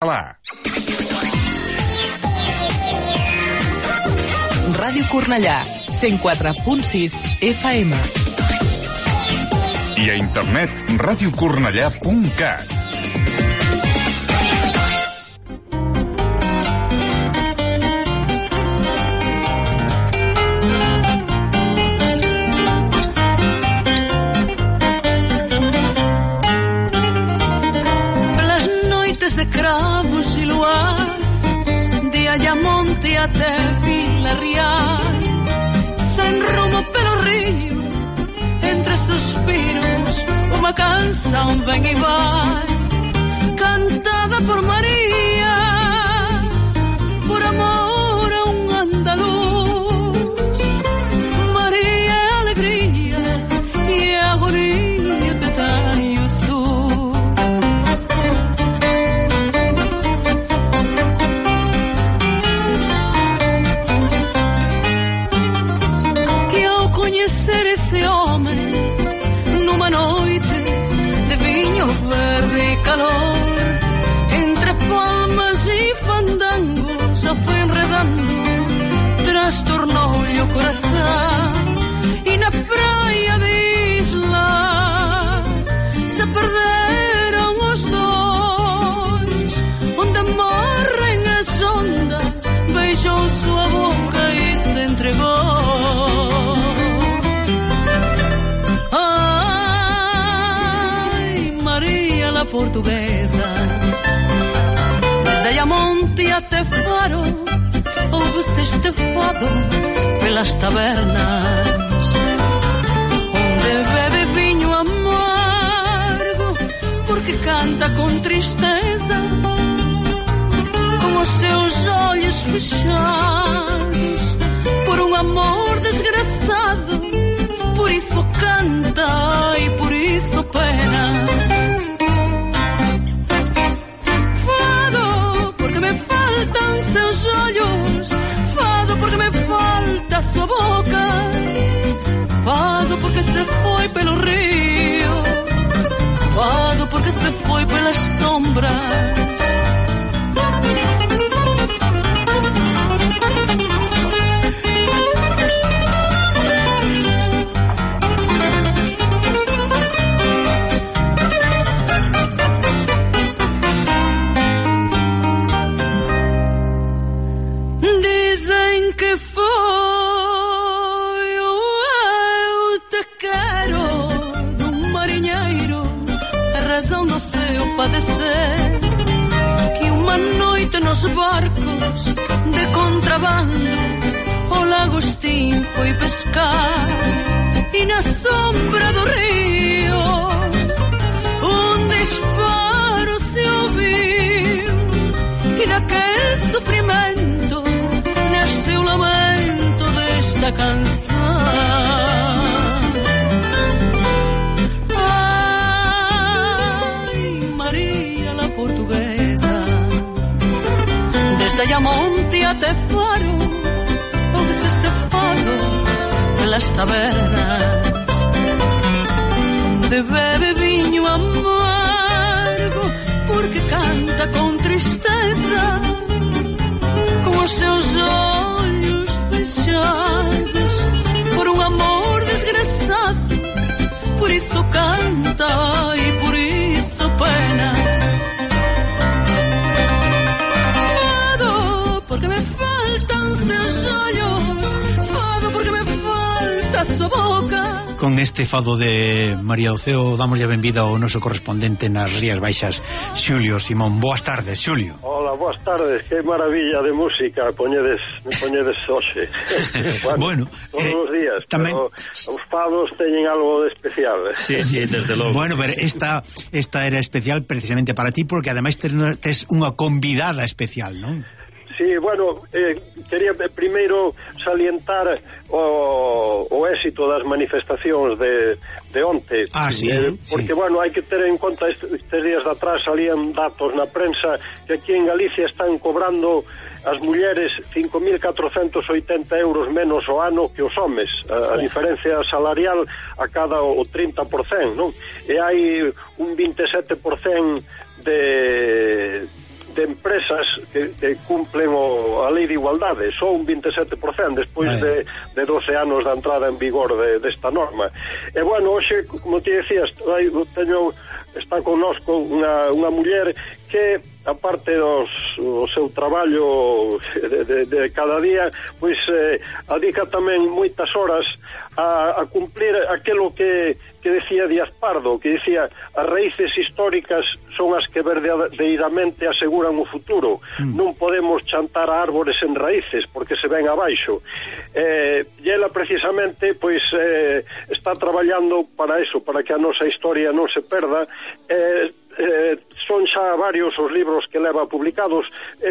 Ràdio Cornellà, 104.6 FM. I a internet, radiocornellà.cat. Até Vila Real, sen rumo pelo río, entre suspiros, uma canção vem e vai, cantada por Maria, por amor a um andaluz. Maria é alegria e é agonia que tem o sul. Conhecer esse homem numa noite de vinho verde e calor, entre palmas e fandangos a foi enredando, trastornou-lhe o coração. E na praia de Isla se perderam os dois, onde morrem as ondas, beijou sua boca e se entregou. Portuguesa, desde Ayamonte até Faro, ouve-se este fado pelas tabernas, onde bebe vinho amargo, porque canta com tristeza, com os seus olhos fechados, por um amor desgraçado, por isso canta e por isso pena. Seus olhos, fado porque me falta sua boca, fado porque se foi pelo rio, fado porque se foi pelas sombras. Padecer que uma noite nos barcos de contrabando o Lagostim foi pescar, e na sombra do rio um disparo se ouviu, e daquele sofrimento nasceu o lamento desta canção. Portuguesa, desde Ayamonte até Faro, ouve-se este fado pelas tabernas, onde bebe vinho amargo, porque canta com tristeza, com os seus olhos fechados, por um amor desgraçado, por isso canta e por isso pena. Porque me faltan seus ollos, fado porque me falta sua boca. Con este fado de María Oceo damos a benvida ao noso correspondente nas Rías Baixas, Xulio Simón. Boas tardes, Xulio. Hola, boas tardes, que maravilla de música me poñedes hoxe. Bueno, todos os días, tamén... pero os fados teñen algo de especial. Sí, desde logo. Bueno, pero esta era especial precisamente para ti, porque ademais tes unha convidada especial, non? Sí, bueno, quería primeiro salientar o éxito das manifestacións de onte. Sí, porque, bueno, hai que ter en conta estes días de atrás salían datos na prensa que aquí en Galicia están cobrando as mulleres 5.480 euros menos ao ano que os homes. A diferencia salarial a cada o 30%, non? E hai un 27% de empresas que cumplen a lei de igualdade, só un 27% despois de 12 anos da entrada en vigor desta norma. E bueno, hoxe, como te decías, está connosco unha muller que, aparte do seu traballo de cada día, pois adica tamén moitas horas a cumplir aquilo que decía Díaz Pardo, que decía: as raíces históricas son as que verdadeiramente aseguran o futuro. Non podemos chantar a árbores en raíces porque se ven abaixo. E ela precisamente pois está traballando para eso, para que a nosa historia non se perda. Son xa varios os libros que leva publicados,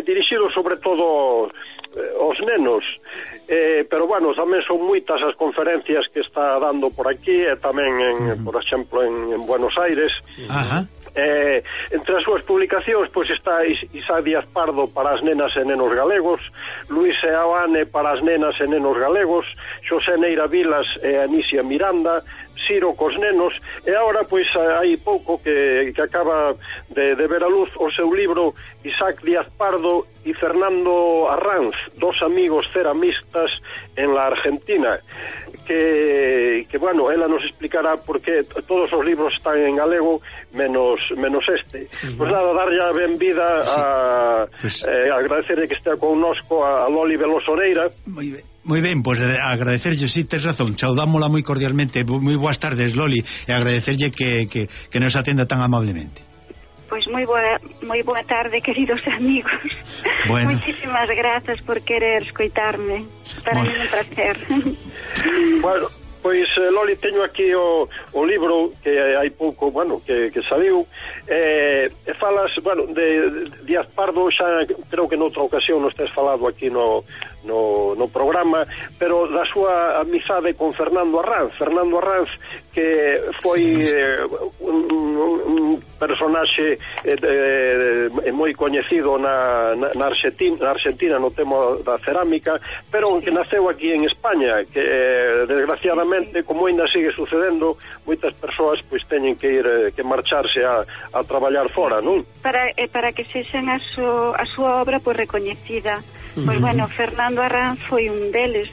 dirixidos sobre todo aos nenos, pero bueno, tamén son moitas as conferencias que está dando por aquí, e tamén por exemplo en Buenos Aires. Entre as súas publicacións pois está Isaac Díaz Pardo para as nenas e nenos galegos, Luis Seoane para as nenas e nenos galegos, Xosé Neira Vilas e Anicia Miranda, Ciro cos nenos, e agora pois hai pouco que acaba de ver a luz o seu libro Isaac Díaz Pardo e Fernando Arranz, dos amigos ceramistas en la Argentina, que bueno, ela nos explicará porque todos os libros están en galego menos este. Pois nada, darlle a benvida agradecerle que estea connosco a Loli Veloso Oreira. Moi ben, pois agradecerlle, si tes razón, saudámola moi cordialmente. Moi boas tardes, Loli, e agradecerlle que nos atenda tan amablemente. Pois moi boa tarde, queridos amigos. Bueno. Moitísimas grazas por querer escoitarme. Para mí un placer. Bueno, pois Loli, teño aquí o libro que hai pouco, bueno, que saliu, e falas, bueno, de Díaz Pardo. Xa creo que noutra ocasión nos tes falado aquí no programa, pero da súa amizade con Fernando Arranz, que foi un personaxe moi coñecido na Argentina no tema da cerámica, pero que naceu aquí en España, que desgraciadamente, como ainda sigue sucedendo, moitas persoas pois teñen que marcharse a traballar fora, non? Para que sexan a súa obra pois recoñecida. Pois bueno, Fernando Arranz foi un deles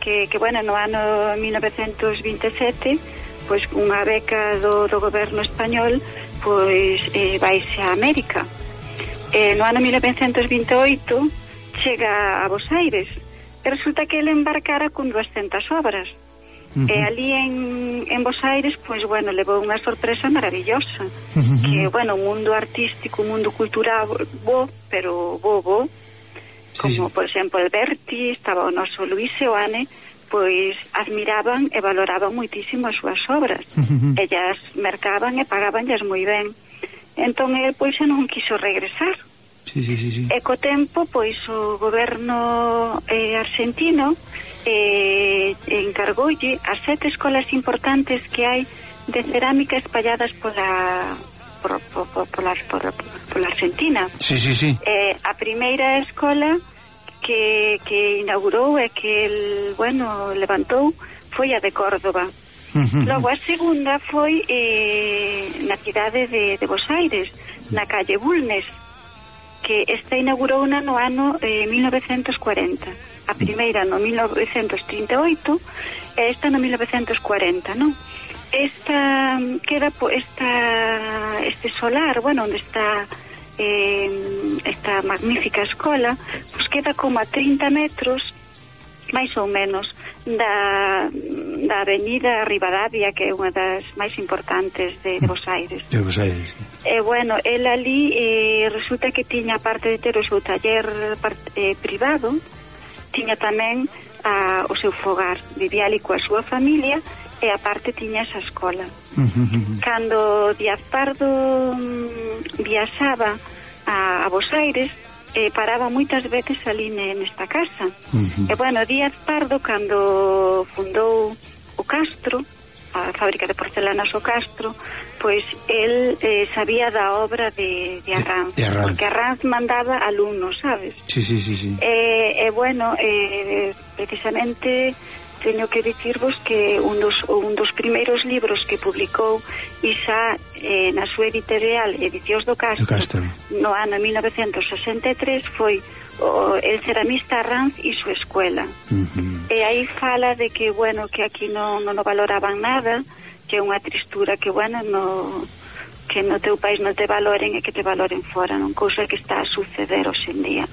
que bueno, no ano 1927 pois unha beca do goberno español pois vaise a América. No ano 1928 chega a Buenos Aires e resulta que ele embarcara con 200 obras. E ali en Buenos Aires pois bueno, levou unha sorpresa maravillosa, que bueno, o mundo artístico, o mundo cultural pero bo, como por exemplo Alberti, estaba o noso Luis Seoane, pois admiraban e valoraban moitísimo as súas obras. Ellas mercaban e pagabanllas moi ben. Entón el pois non quiso regresar. E co tempo pois o goberno argentino encargoulle as 7 escolas importantes que hai de cerámica espalladas pola Argentina. A primeira escola que inaugurou e que el, bueno, levantou foi a de Córdoba. Logo a segunda foi na cidade de Buenos Aires, na calle Bulnes, que esta inaugurou no ano 1940. A primeira no 1938 e esta no 1940, non? Esta queda este solar, bueno, onde está esta magnífica escola, pues queda como a 30 metros máis ou menos da avenida Rivadavia, que é unha das máis importantes de Buenos Aires. E bueno, el ali resulta que tiña, aparte de ter o seu taller privado, tiña tamén o seu fogar, vivía ali coa súa familia, e aparte tiña esa escola. Cando Díaz Pardo viaxaba a Buenos Aires, paraba moitas veces ali nesta casa. E bueno, Díaz Pardo, cando fundou o Castro, a fábrica de porcelanas o Castro, pois el sabía da obra de Arranz, porque Arranz mandaba alumnos, sabes? E bueno, precisamente teño que dicirvos que un dos primeiros libros que publicou Isa na súa editorial Edicións do Castro no ano 1963 foi El ceramista Arranz e súa escuela. E aí fala de que, bueno, que aquí non valoraban nada, que é unha tristura que, bueno, que no teu país non te valoren e que te valoren fora, non? Cousa que está a suceder hoxe en día.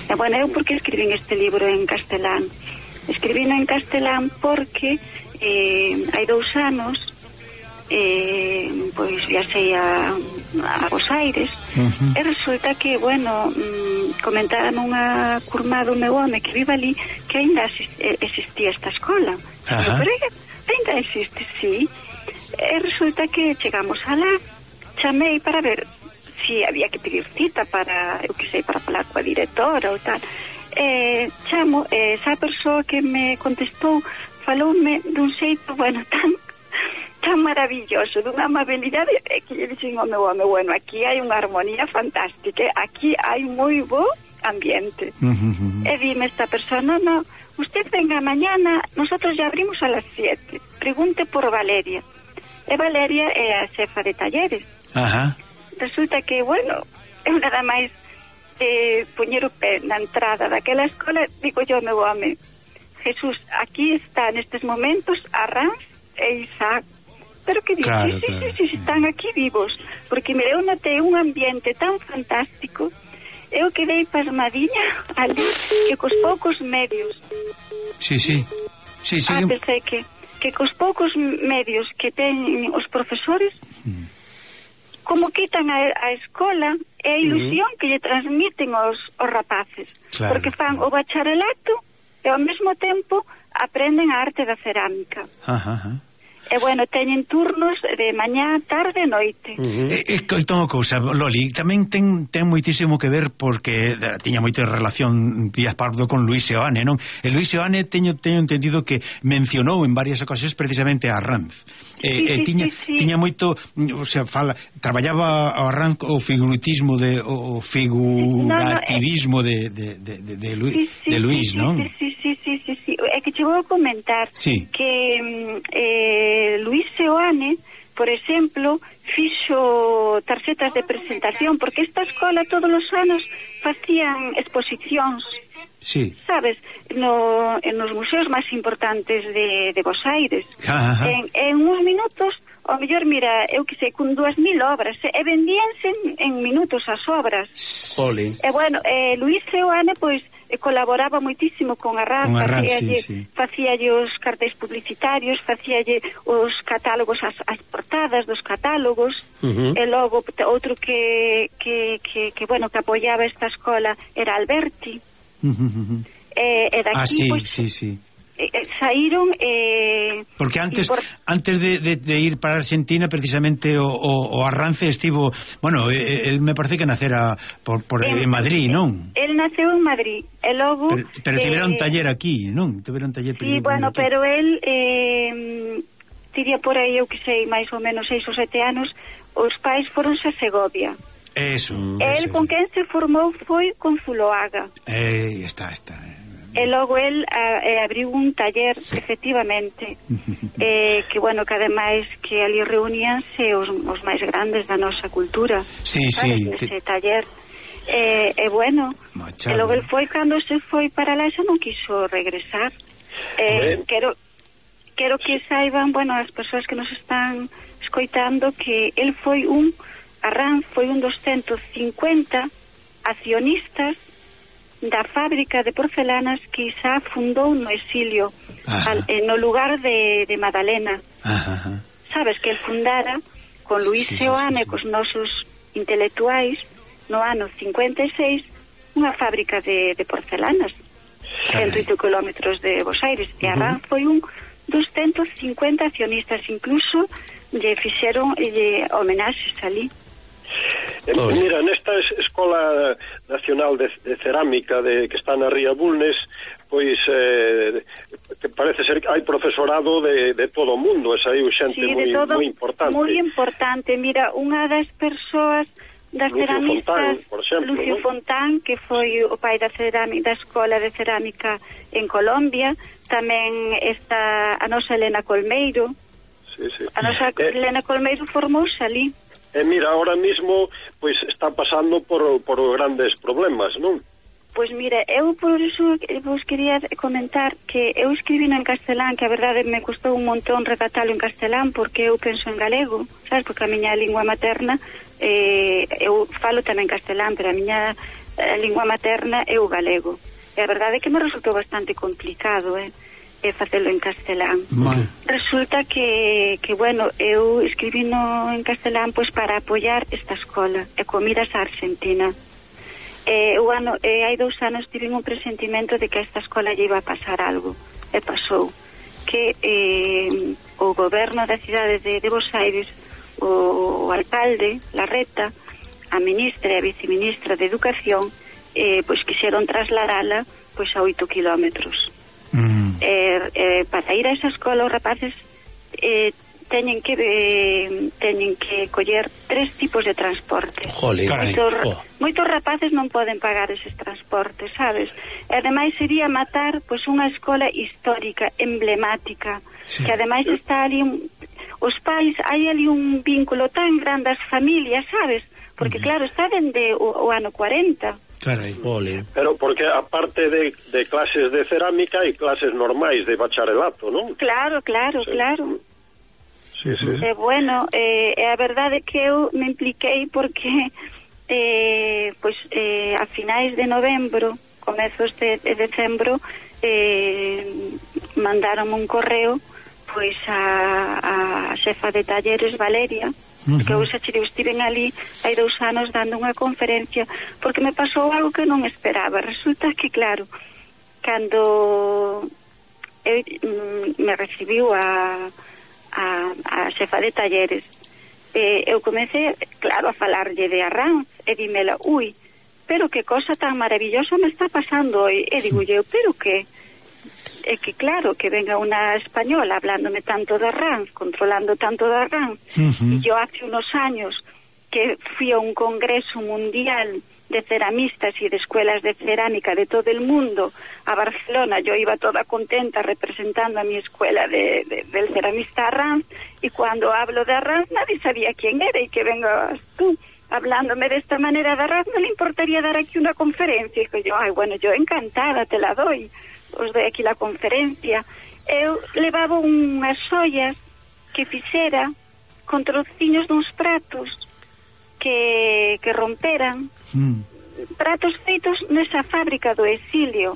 E, bueno, eu porque escribín este libro en castelán? Escribino en castelán porque hai 2 anos pois viaxei a Bos Aires e resulta que, bueno, comentaron unha curmá do meu home que vive ali que ainda existía esta escola. Pero ainda existe, sí. E resulta que chegamos alá, chamei para ver si había que pedir cita para, eu que sei, para falar coa directora ou tal. Chamo, esa persoa que me contestou faloume dun xeito, bueno, tan maravilloso, dunha amabilidade, que lle dixen ao meu home, bueno, aquí hai unha armonía fantástica, aquí hai moi bo ambiente. E dime esta persona, no, usted venga mañana, nosotros ya abrimos a las 7, pregunte por Valeria. E Valeria é a xefa de talleres. Resulta que, bueno, eu nada máis poñer o pé na entrada daquela escola, digo yo ao meu home, Jesús, aquí está nestes momentos Arranz e Isaac. Pero que dices, claro, sí, están aquí vivos, porque mire, eu notei un ambiente tan fantástico, eu quedei pasmadinha ali, que cos poucos medios pensei que cos poucos medios que ten os profesores como quitan a escola e a ilusión que lle transmiten os rapaces, porque fan o bacharelato e ao mesmo tempo aprenden a arte da cerámica. E, bueno, teñen turnos de mañá, tarde e noite. Entón, a cousa, Loli, tamén ten moitísimo que ver porque tiña moita relación Díaz Pardo con Luis Seoane, non? E Luis Seoane teño entendido que mencionou en varias ocasións precisamente a Arranz. Tiña moito, o sea, traballaba a Arranz o figuratismo o figurativismo de Luis, non? Sí. É que che vou comentar que Luis Seoane, por exemplo, fixo tarxetas de presentación, porque esta escola todos os anos facían exposicións, sabes, nos museos máis importantes de Bos Aires. En uns minutos, ao mellor, mira, eu que sei, con 2000 obras, e vendíanse en minutos as obras. E, bueno, Luis Seoane, pois, colaboraba moitísimo con Arranz, facíalle os cartéis publicitarios, facíalle os catálogos, as portadas dos catálogos, e logo outro que bueno, que apoiaba esta escola era Alberti. E daqui, saíron porque antes de ir para Argentina precisamente o Arranz estivo, bueno, el me parece que nacera en Madrid, non? El naceu en Madrid e logo pero tiveron taller aquí, non? Tiveron taller sí, bueno, aquí. Pero el tiría por aí, eu que sei, máis ou menos 6 ou 7 anos, os pais foronse a Segovia. Eso. El con quen se formou foi con Zuloaga. Está. E logo el abriu un taller, efectivamente, que, bueno, que ademais que ali reuníanse os máis grandes da nosa cultura. Ese taller. E, bueno, e logo el foi, cando se foi para lá, xa non quiso regresar. Quero que saiban, bueno, as persoas que nos están escoitando, que el foi Arranz foi un dos 150 accionistas da fábrica de porcelanas que Isá fundou no exilio, no lugar de Madalena. Sabes que el fundara con Luis Seoane, cos nosos intelectuais, no ano 56, unha fábrica de porcelanas, 108 kilómetros de Bos Aires. E Arranz foi un dos 150 accionistas, incluso lle fixeron homenaxes ali. Mira, nesta Escola Nacional de Cerámica que está na Ría Bulnes, pois que parece ser que hai profesorado de todo o mundo, e saiu xente moi importante. Moi importante, mira, unha das persoas das ceramistas, Fontán, por exemplo, Lucio Fontán, que foi o pai da escola de cerámica en Colombia. Tamén está a nosa Elena Colmeiro. Sí. A nosa Elena Colmeiro formouse ali. Mira, ahora mismo pois está pasando por grandes problemas, non? Pois mira, eu por iso vos quería comentar que eu escribino en castelán, que a verdade me custou un montón redactalo en castelán, porque eu penso en galego, sabes, porque a miña lingua materna, eu falo tamén castelán, pero a miña lingua materna é o galego. E a verdade é que me resultou bastante complicado, facelo en castelán. Resulta que bueno, eu escribino en castelán pois para apoiar esta escola e comidas a Argentina. Hai 2 anos tive un presentimento de que a esta escola lle iba a pasar algo, e pasou que o goberno da cidade de Buenos Aires, o alcalde Larreta, a ministra e a viceministra de Educación, pois quixeron trasladala pois a 8 kilómetros. Para ir a esa escola os rapaces teñen que coller 3 tipos de transporte. Moitos rapaces non poden pagar eses transportes, sabes? E ademais sería matar pois unha escola histórica, emblemática, que ademais está ali os pais, hai ali un vínculo tan grande as familias, sabes? Porque claro, está dende o ano 40. Carai, pero porque aparte de clases de cerámica hai clases normais de bacharelato, non? Claro. Sí. Bueno, a verdade é que eu me impliquei porque a finais de novembro, comezos de decembro, mandaron un correo pois a xefa de talleres, Valeria, porque eu estiven ali hai 2 anos dando unha conferencia, porque me pasou algo que non esperaba. Resulta que, claro, cando me recibiu a xefa de talleres, eu comecei, claro, a falarlle de Arranz, e dímela, pero que cosa tan maravillosa me está pasando hoy. E digo eu, pero que? É que claro, que venga unha española hablándome tanto de Arranz, controlando tanto de Arranz, y yo hace unos años que fui a un congreso mundial de ceramistas y de escuelas de cerámica de todo el mundo a Barcelona. Yo iba toda contenta representando a mi escuela del ceramista Arranz, y cuando hablo de Arranz nadie sabía quién era, y que vengas tú hablándome de esta manera de Arranz, ¿no le importaría dar aquí una conferencia? Y yo, bueno, yo encantada, te la doy, os doy aquí la conferencia. Eu levaba unhas ollas que fixera con trociños duns pratos que romperan, pratos feitos nesa fábrica do exilio.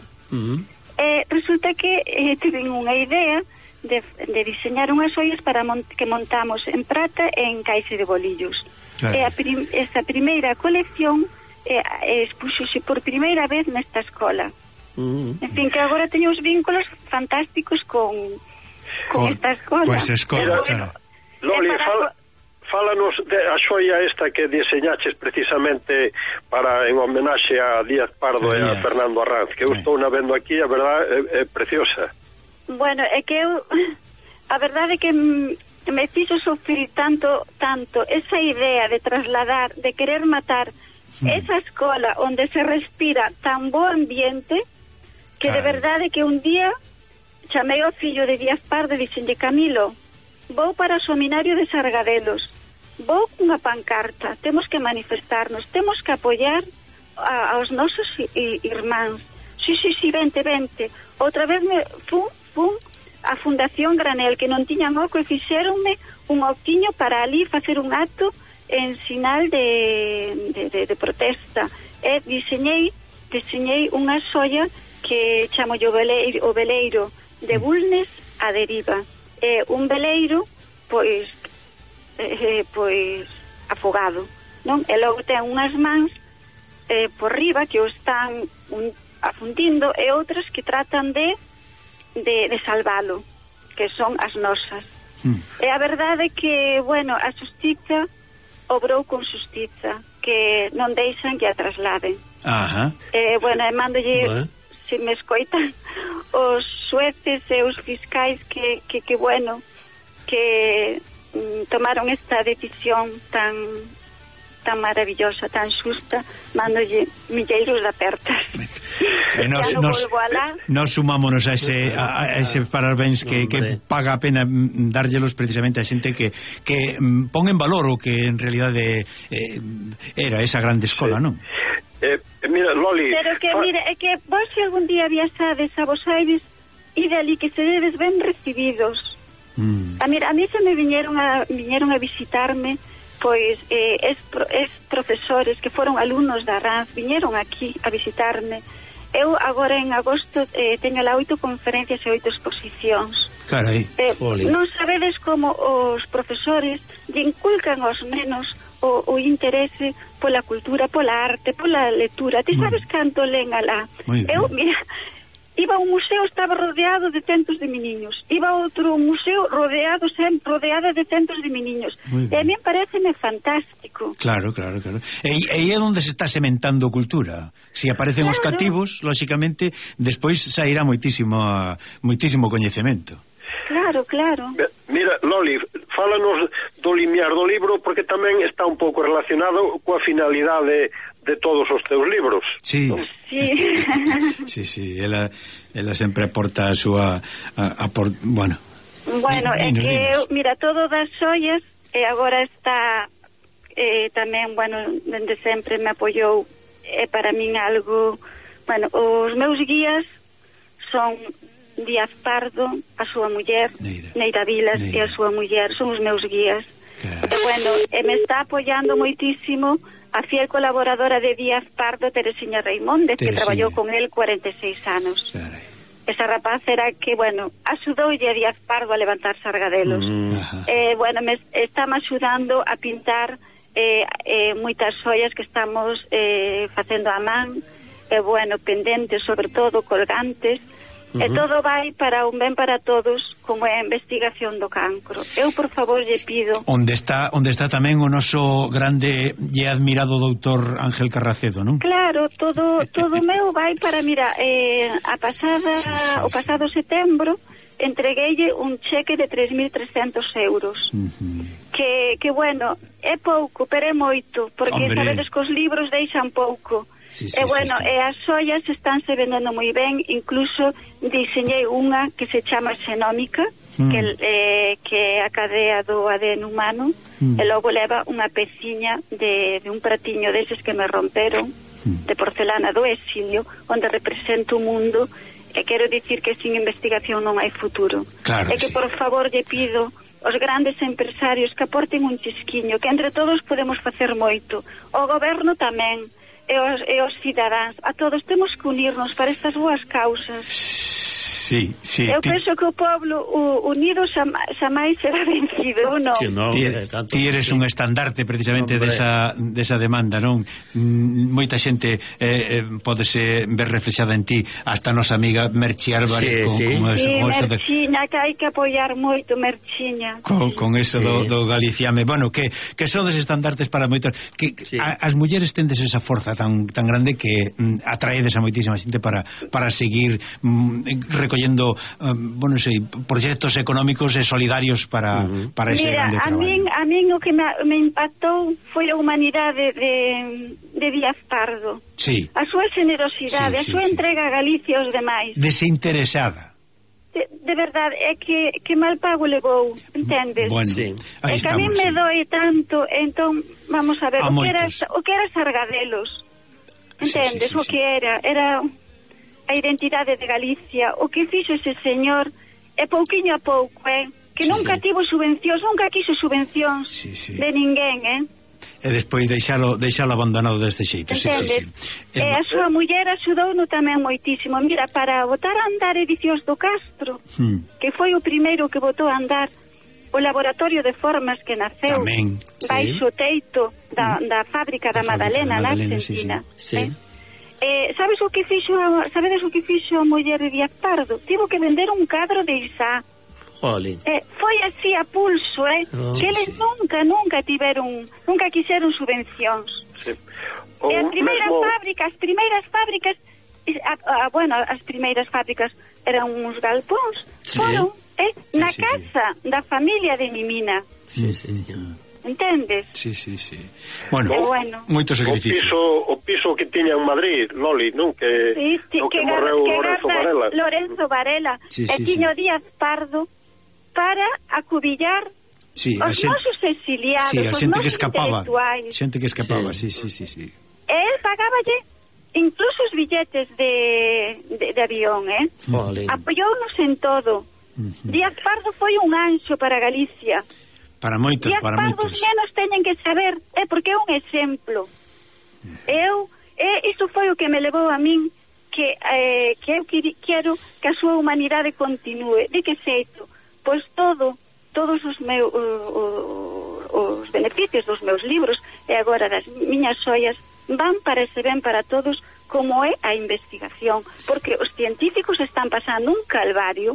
Resulta que tiven unha idea de diseñar unhas ollas para que montamos en prata e en caixe de bolillos. Esta primeira colección expuxose por primeira vez nesta escola. En fin, que agora teño os vínculos fantásticos con esta escola. Con esa escola, claro. Loli, fálanos a xoia esta que diseñaches precisamente en homenaxe a Díaz Pardo e a Fernando Arranz, que eu estou na vendo aquí, a verdade é preciosa. Bueno, é que eu, a verdade é que me fixo sufrir tanto esa idea de trasladar, de querer matar esa escola onde se respira tan bo ambiente, que de verdade que un día chamei ao fillo de Díaz Pardo e dixenlle, Camilo, vou para o seminario de Sargadelos, vou cunha pancarta, temos que manifestarnos, temos que apoiar aos nosos irmáns. Sí, vente. Outra vez fun a Fundación Granel, que non tiñan oco, e fixéronme un oquiño para ali facer un acto en sinal de protesta. E diseñei unha xoia que chamo o veleiro de Bulnes a deriva. É un veleiro pois afogado, non? E logo ten unhas mans por riba que o están afundindo, e outras que tratan de salvalo, que son as nosas. E a verdade é que, bueno, a xustiza obrou con xustiza, que non deixan que a trasladen. Bueno, e mándolle, se me escoitan os xueces e os fiscais que bueno, que tomaron esta decisión tan tan maravillosa, tan xusta, mándolle milleiros de apertas. Nos sumámonos a ese parabéns que paga a pena dárllelos precisamente a xente que pon en valor o que en realidade era esa grande escola, non? Mira, Loli... Pero que, mira, é que vos se algún día viaxades a Bos Aires e dali que se dedes ben recibidos. A mí se me viñeron a visitarme, pois es profesores que foron alumnos da RANZ, viñeron aquí a visitarme. Eu agora en agosto teño lá 8 conferencias e 8 exposicións. Carai. Non sabedes como os profesores lle inculcan aos nenos o interese pola cultura, pola arte, pola lectura. Ti sabes canto len alá? Eu, mira, iba a un museo, estaba rodeado de centos de meniños. Iba a outro museo rodeada de centos de meniños. E a mí pareceme fantástico. Claro. E é onde se está sementando cultura. Se aparecen os cativos, lóxicamente, despois sairá moitísimo coñecemento. Claro. Mira, Loli, fálanos do limiar do libro, porque tamén está un pouco relacionado coa finalidade de todos os teus libros. Sí. ¿No? Sí, ela sempre aporta a súa bueno, é que mira, todo das xoias e agora está tamén, bueno, dende sempre me apoiou, para min algo, bueno, os meus guías son Díaz Pardo, a súa muller, Neira Vilas e a súa muller, son os meus guías. Claro. E bueno, me está apoiando moitísimo a fiel colaboradora de Díaz Pardo, Teresiña Reimóndez, que traballou con él 46 anos. Caray. Esa rapaz era que, bueno, axudoulle a Díaz Pardo a levantar sargadelos. Bueno, está me axudando a pintar moitas xoias que estamos facendo a man, bueno, pendentes, sobre todo, colgantes. E todo vai para un ben para todos, como é a investigación do cancro. Eu, por favor, lle pido... Onde está tamén o noso grande e admirado doutor Ángel Carracedo, non? Claro, todo meu vai para, mira, o pasado setembro entregueille un cheque de 3.300 euros. Que, bueno, é pouco, pero é moito, porque sabedes que os libros deixan pouco. Bueno, as xoias estánse vendendo moi ben, incluso diseñei unha que se chama xenómica, que é a cadea do ADN humano, e logo leva unha peciña de un pratiño deses que me romperon, de porcelana do exilio, onde represento o mundo, e quero dicir que sin investigación non hai futuro. Claro, que por favor lle pido os grandes empresarios que aporten un chisquiño, que entre todos podemos facer moito, o goberno tamén, e os cidadáns, a todos temos que unirnos para estas boas causas. Sí. Eu penso que o pueblo unido xamais será vencido, non? Ti eres un estandarte precisamente desa demanda, non? Moita xente pódese ver reflexada en ti, hasta a nosa amiga Merchi Álvarez con Merchiña, que hai que apoiar moito Merchiña. Con eso do galiciame. Bueno, que sodes estandartes para moitas, que as mulleres tendes esa forza tan grande que atraedes a moitísima xente para seguir recollendo bueno, proxectos económicos e solidarios para ese grande traballo. A min o que me impactou foi a humanidade de Díaz Pardo. Sí. A súa generosidade, a súa entrega a Galicia aos demais. Desinteresada. De verdade, é que mal pago levou, entendes? Bueno, é que a mí me doi tanto, entón, vamos a ver, o que era Sargadelos, entendes? O que era a identidade de Galicia, o que fixo ese señor é pouquiño a pouco, que nunca tivo subvencións, nunca quiso subvencións de ninguén, e despois deixalo abandonado deste xeito. Entendes? E a súa muller axudouno tamén moitísimo. Mira, para botar a andar Edicións do Castro, que foi o primeiro que botou a andar o laboratorio de formas que naceu baixo o teito da fábrica da Madalena na Argentina. Sabedes o que fixo a muller de Díaz Pardo? Tivo que vender un cadro de Isá. Foi así a pulso, que eles nunca quixeron subvencións. E as primeiras fábricas as primeiras fábricas eran uns galpóns, foron na casa da familia de Mimina. entendes? Sí. Bueno, moito sacrificio. O piso que tiña en Madrid, Loli, non? Que morreu Lorenzo Varela. E tiño Díaz Pardo para acubillar os nosos exiliados, os nosos intelectuais. Xente que escapaba, sí. El pagáballe incluso os billetes de avión, apoyounos en todo. Díaz Pardo foi un anxo para Galicia. Para moitos. Díaz Pardo os nenos teñen que saber, porque é un exemplo. Isto foi o que me levou a min que eu quero que a súa humanidade continúe. De que xeito? Pois todos os meus os beneficios dos meus libros e agora das miñas xoias van para ese ben para todos, como é a investigación, porque os científicos están pasando un calvario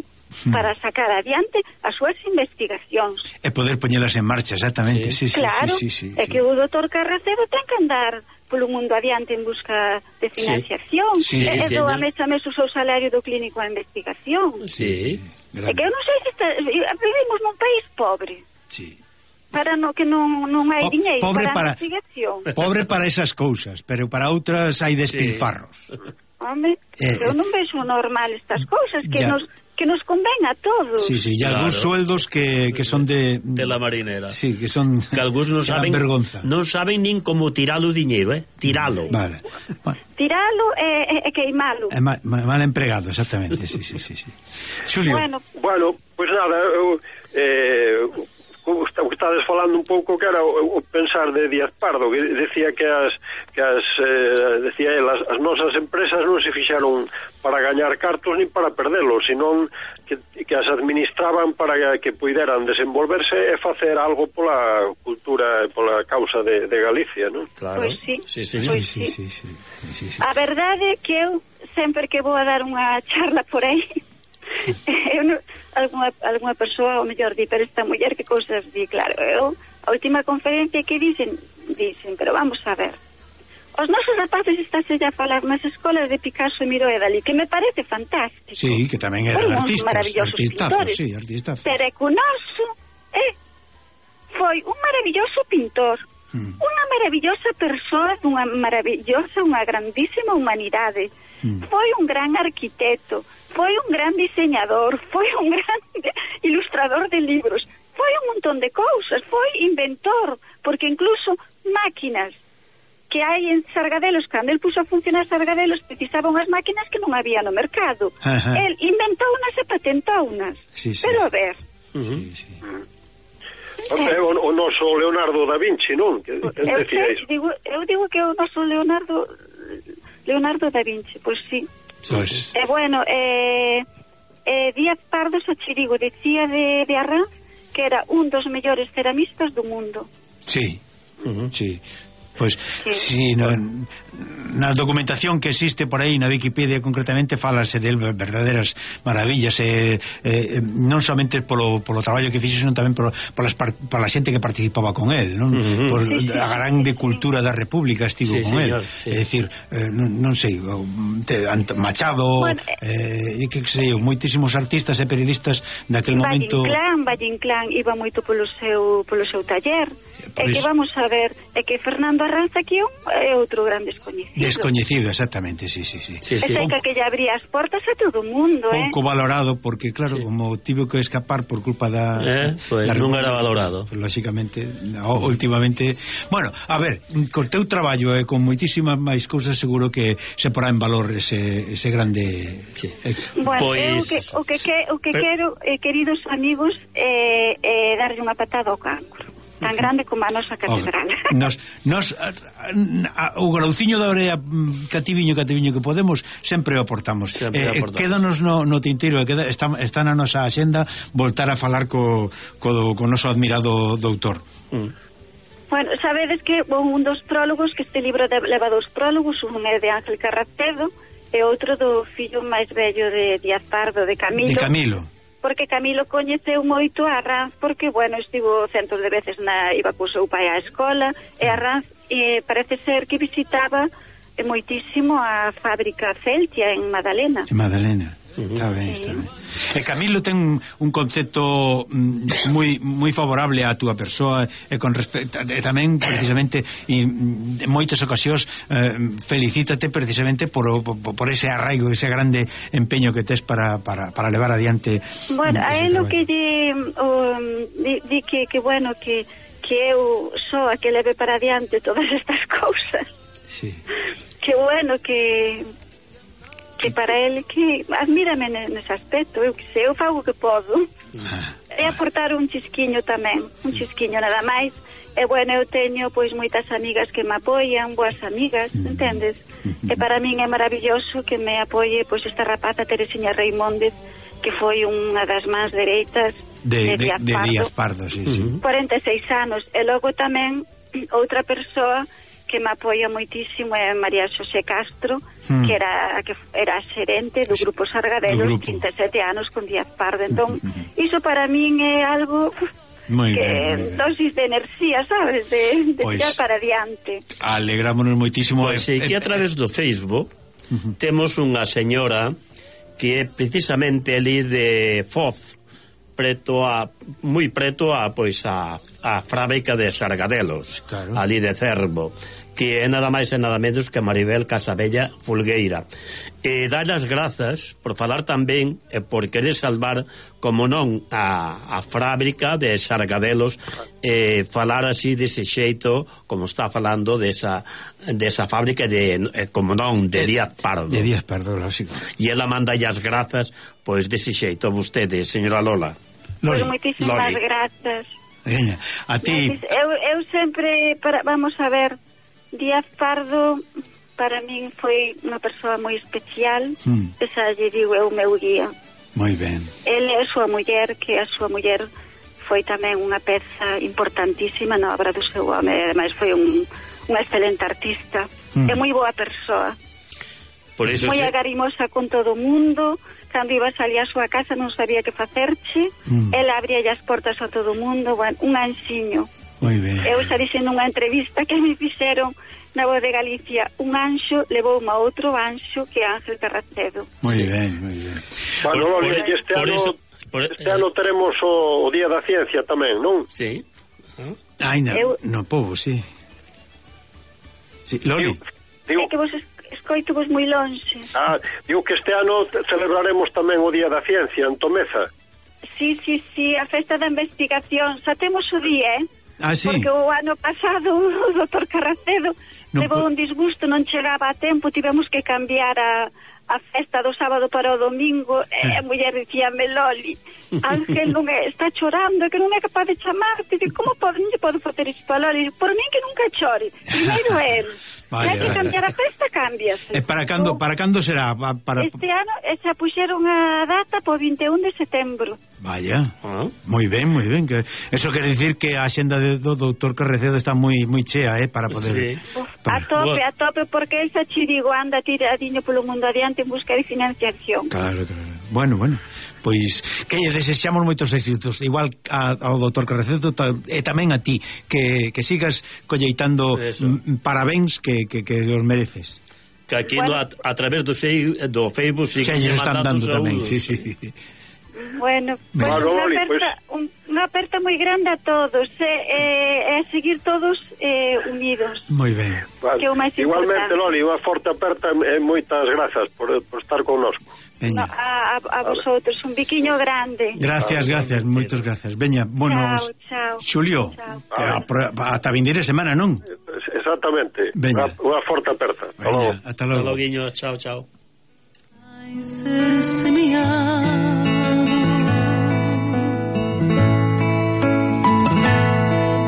para sacar adiante as súas investigacións. E poder poñelas en marcha, exactamente. Claro, é que o doutor Carracedo ten que andar polo mundo adiante en busca de financiación. E doame tamén o seu salario do clínico a investigación. É que eu non sei se vivimos nun país pobre. Para que non hai diñeiro para a investigación. Pobre para esas cousas, pero para outras hai despilfarros. Home, eu non vexo normal estas cousas que nos conven a todos. Sí, e algúns sueldos que son de la marinera. Sí, que son que algúns non saben nin como tiralo o diñeiro, tiralo. Vale. Tiralo e queimalo. Mal empregado, exactamente, sí. Xulio. Bueno, pues nada, estades falando un pouco que era o pensar de Díaz Pardo, que decía que decía él, as nosas empresas non se fixaron para gañar cartos ni para perdelos, senón que as administraban para que puideran desenvolverse e facer algo pola cultura e pola causa de Galicia, non? Claro. Pois sí. Sí. A verdade é que eu sempre que vou a dar unha charla por aí alguna persoa ao mellor di, pero esta muller que cousas di, claro, a última conferencia que dicen, pero vamos a ver, os nosos rapaces estáse a falar nas escolas de Picasso e Miró e Dalí, que me parece fantástico. Sí, que tamén eran artistazos, pintores, pero é que o noso foi un maravilloso pintor, unha maravillosa persoa, unha grandísima humanidade, foi un gran arquitecto, foi un gran diseñador, foi un gran ilustrador de libros, foi un montón de cousas, foi inventor, porque incluso máquinas que hai en Sargadelos, cando el puso a funcionar Sargadelos, precisaban as máquinas que non había no mercado. El inventounas e patentounas. Pero a ver... O noso Leonardo da Vinci, non? Eu digo que o noso Leonardo da Vinci, pois sí. Bueno, Díaz Pardo, xa che digo, decía de Arranz que era un dos mellores ceramistas do mundo. Sí. Pois, si na documentación que existe por aí na Wikipedia concretamente falase del verdaderas maravillas, non somente polo traballo que fixo, senón tamén pola xente que participaba con él, non? Por a grande cultura da República estivo con él. É dicir, non sei, Machado, que sei, moitísimos artistas e periodistas daquel momento. Valle Inclán iba moito polo seu taller. É que vamos a ver, é que Fernando Arranz aquí é outro gran descoñecido, exactamente, sí. Ese que lle abría as portas a todo o mundo, pouco valorado, porque claro, como tivo que escapar por culpa da non era valorado, lógicamente, últimamente. Bueno, a ver, co teu traballo e con moitísimas máis cousas seguro que se porá en valor ese grande. Bueno, o que quero, queridos amigos, darlle unha patada ao cancro tan grande como a nosa catedral. O grauciño da orea cativiño que podemos sempre o aportamos. Quédanos no tinteiro, está na nosa axenda voltar a falar co noso admirado doutor. Bueno, sabedes que un dos prólogos, que este libro leva dos prólogos, un é de Ángel Carracedo e outro do fillo máis vello de Díaz Pardo, de Camilo. Porque Camilo coñeceu moito a Arranz, porque, bueno, estivo centos de veces iba co seu pai á escola, e Arranz parece ser que visitaba moitísimo a fábrica Celtia en Madalena. Está ben, está ben. E Camilo ten un concepto moi favorable á túa persoa e con respecto e tamén precisamente en moitas ocasións felicítate precisamente por ese arraigo, ese grande empeño que tes para levar adiante. Bueno, a él o que di que bueno, que eu sou a que leve para adiante todas estas cousas. Sí. Que bueno, que para ele que admírame nese aspecto, eu que sei, eu fago o que podo. É aportar un chisquiño tamén, un chisquiño nada máis. E bueno, eu teño pois moitas amigas que me apoian, boas amigas, entendes? E para min é maravilloso que me apoie pois esta rapaza Teresiña Reimóndez, que foi unha das mans dereitas de Díaz Pardo, sí, sí. 46 anos. E logo tamén outra persoa que me apoia moitísimo é María Xosé Castro, que era xerente do Grupo Sargadelos, 37 anos con Díaz Pardo. Entón, iso para min é algo que dosis de enerxía, sabes, de tirar para adiante. Alegrámonos moitísimo. Pois sí, que a través do Facebook temos unha señora que é precisamente ali de Foz, moi preto a fábrica de Sargadelos, claro, ali de Cervo, que é nada máis e nada menos que Maribel Casabella Fulgueira, e dá as grazas por falar tamén e por querer salvar, como non, a fábrica de Sargadelos, e falar así dese xeito como está falando desa fábrica de, como non, de Díaz Pardo. De Díaz Pardo, lógico. E ela manda as grazas pois dese xeito a vostede, señora Lola. Pois moitísimas grazas. A ti. Eu sempre, vamos a ver, Díaz Pardo para min foi unha persoa moi especial. Esa lle digo, é o meu guía. Moi ben. Ele é a súa muller, que a súa muller foi tamén unha peza importantísima na obra do seu home. Ademais foi unha excelente artista. É moi boa persoa. Por eso moi agarimosa con todo o mundo. Cando iba a salir a súa casa non sabía que facerche. Ela abría as portas a todo o mundo. Bueno, un anxiño. Moi ben. Eu xa dixen nunha entrevista que me fixeron na Voz de Galicia, un anxo levou a outro anxo que é Ángel Carracedo. Moi ben, moi ben. Bueno, este ano teremos o Día da Ciencia tamén, non? Sí. Ai, no povo, sí. Sí, Loli. É que vos escoito vos moi lonxe. Digo que este ano celebraremos tamén o Día da Ciencia en Tomeza. Sí, a festa da investigación. Xa temos o día, sí. Porque o ano pasado o doutor Carracedo levou un disgusto, non chegaba a tempo, tivemos que cambiar a festa do sábado para o domingo. E a muller dicíame, Loli, Ángel non está chorando, que non é capaz de chamarte. Digo, como podo facer isto a Loli? Por min que nunca chore. Primeiro él. Hai que cambiar a festa, cámbiase. E para cando será? Este ano xa puxeron a data po 21 de setembro. Vaya, moi ben, moi ben. Eso quere dicir que a axenda do doutor Carracedo está moi chea, para poder... Sí. A tope, porque el xa chirigo anda tiradiño polo mundo adiante en busca de financiación. Claro. Bueno, pois que lle desexamos moitos éxitos, igual ao doutor Carracedo e tamén a ti, que sigas colleitando parabéns que os mereces. Que aquí a través do Facebook sí que están dando tamén, sí. Bueno, unha aperta moi grande a todos, e seguir todos unidos. Moi ben. Que o máis igualmente, Loli, unha forte aperta e moitas grazas por estar connosco. A vosotros, un biquiño grande. Gracias, moitas grazas. Veña, bueno, chao. Xulio, ata vindeira semana, non? Exactamente. Unha forte aperta. Ata logo. Chao. Ser semeado,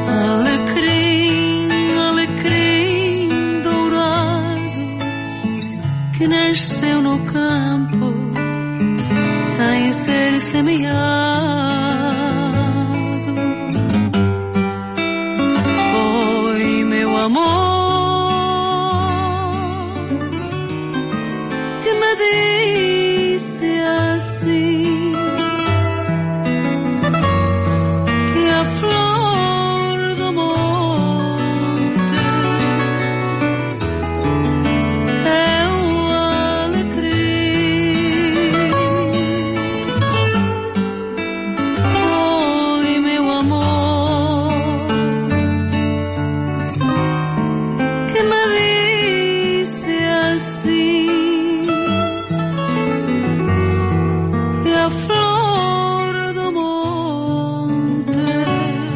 alecrim dourado que nasceu no campo sem ser semeado.